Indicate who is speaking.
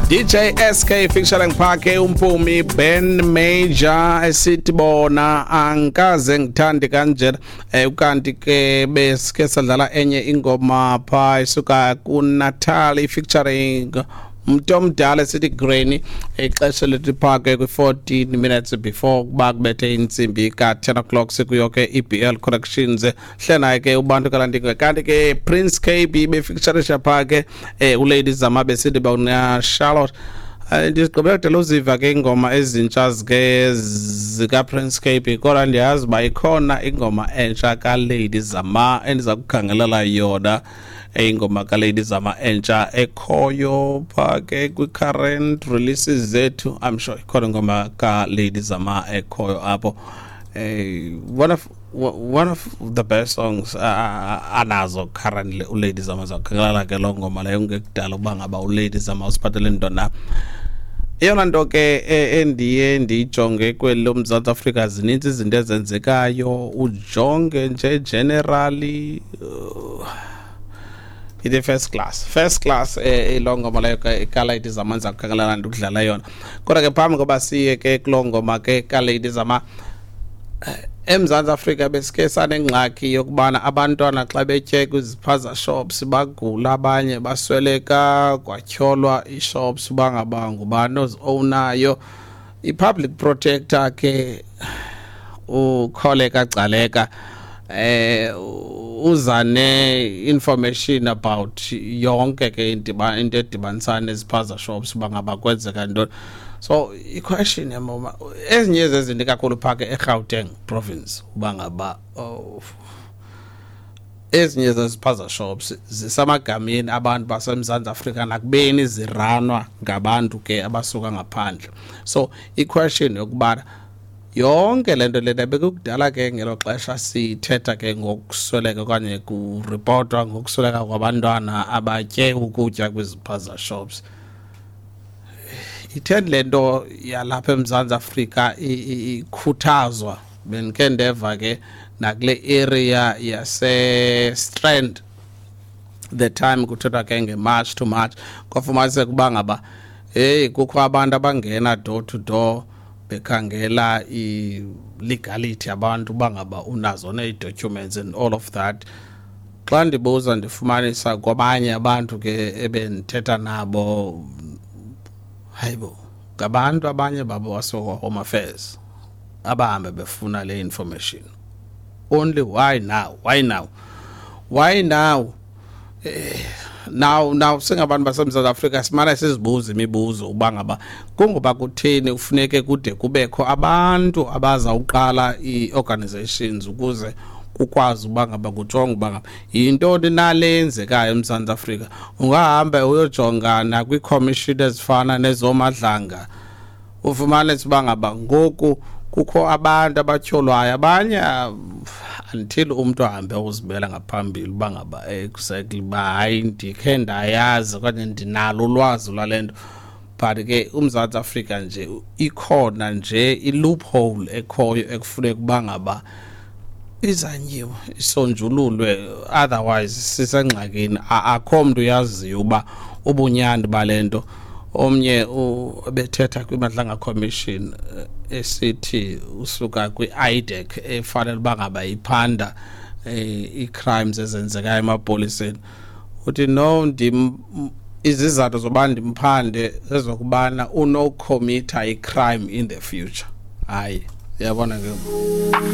Speaker 1: DJ SK featuring Phake uMpumi Ben Major esithi bona angikaze ngithande kanjena. Ukanti ke besike sadlala enye ingoma pha isuka kuNatalie featuring umuntu omdala esithi Granny. Ixesha lethu phake kwi-14 minutes before kuba kubethe intsimbi ka-10 o'clock, sikuyo ke i-BL Connections. Hlena ke ubantu kalandingo, kanti ke Prince KB befeaturisha pha ke uLady Zama besithi bona Charlotte. Ndigqibela kudala uziva ke ingoma ezintsha zike zika-Prince KB, kodwa ndiyazi uba ikhona ingoma entsha kaLady Zama endiza kukhangelela yona. Ingoma kaLady Zama entsha ekhoyo pha ke kwi-current releases zethu, I'm sure ikhona ingoma kaLady Zama ekhoyo apho. One of the best songs anazo currently uLady Zama. Zakhangelela ke loo ngoma leyo ngekudala uba ngaba uLady Zama usiphathele nto na. Eyona nto ke endiye ndiyijonge kweli loMzantsi Afrika, zinintsi izinto ezenzekayo, ujonge nje generally, ithi first class, first class. Iloo ngoma leyo ke kaLady Zama ndiza kukhangelela ndikudlala yona. Kodwa ke phambi koba siye ke kuloo ngoma ke kaLady Zama, eMzantsi Afrika besike sanengxaki yokubana abantwana xa betye kwiziphaza shops bagula, abanye basweleka, kwatyholwa ii-shops uba ngaba ngubani ozi-ownayo. I-public protector ke uKholeka Gcaleka uza ne-information about yonke ke into edibanisana neziphaza shops, uba ngaba kwenzeka ntoni. So i-question yam, ezinye zezinto kakhulu phaa ke eGauteng province, uba ngaba, oh, ezinye zeziphaza shops zisemagameni abantu baseMzantsi Afrika nakubeni zirunwa ngabantu ke abasuka ngaphandle. So i-question yokubana yonke le nto lena bekukudala ke ngelo xesha sithetha ke ngokusweleka okanye kuripotwa ngokusweleka kwabantwana abatye ukutya kwiziphaza shops, itheni le nto yalapha eMzantsi Afrika ikhuthazwa? Bendikhe ndeva ke nakule area yase-Strand, the time kuthethwa ke nge-March to March, kwafumaniseka uba ngaba heyi, kukho abantu abangena door to door bekhangela i-legality abantu, uba ngaba unazo nee-documents and all of that. Xa ndibuza ndifumanisa kwabanye abantu ke ebendithetha nabo, hayibo, ngabantu abanye babo basuka Home Affairs abahambe befuna le information only. Why now? Why now? Why now? Now singabantu baseMzantsi Afrika simane sizibuza imibuzo uba ngaba kungoba kutheni kufuneke kude kubekho abantu abazawuqala ii-organizations ukuze kukwazi uba ngaba kujongwe uba ngaba yintoni nale yenzekayo eMzantsi Afrika. Ungahamba uyojonga nakwii-commission ezifana nezoMadlanga, ufumanise uba ngaba ngoku kukho abantu abatyholwayo abanye, until umntu ahambe uzibela ngaphambili uba ngaba exactly uba hayi, ndikhe ndayazi okanye ndinalo ulwazi lwale nto. But ke uMzantsi Afrika nje ikhona nje i-loophole ekhoyo ekufuneka uba ngaba izanyiwe, isonjululwe, otherwise sisengxakini. Akho mntu uyaziyo uba ubunyani bale nto. Omnye ebethetha kwiMadlanga Commission, esithi usuka kwi-IDAC efanele uba ngaba iphanda ii-crimes ezenzekayo emapoliseni, uthi no, ndim izizathu zoba ndimphande zezokubana unocommitha i-crime in the future. Hayi, uyabona ke.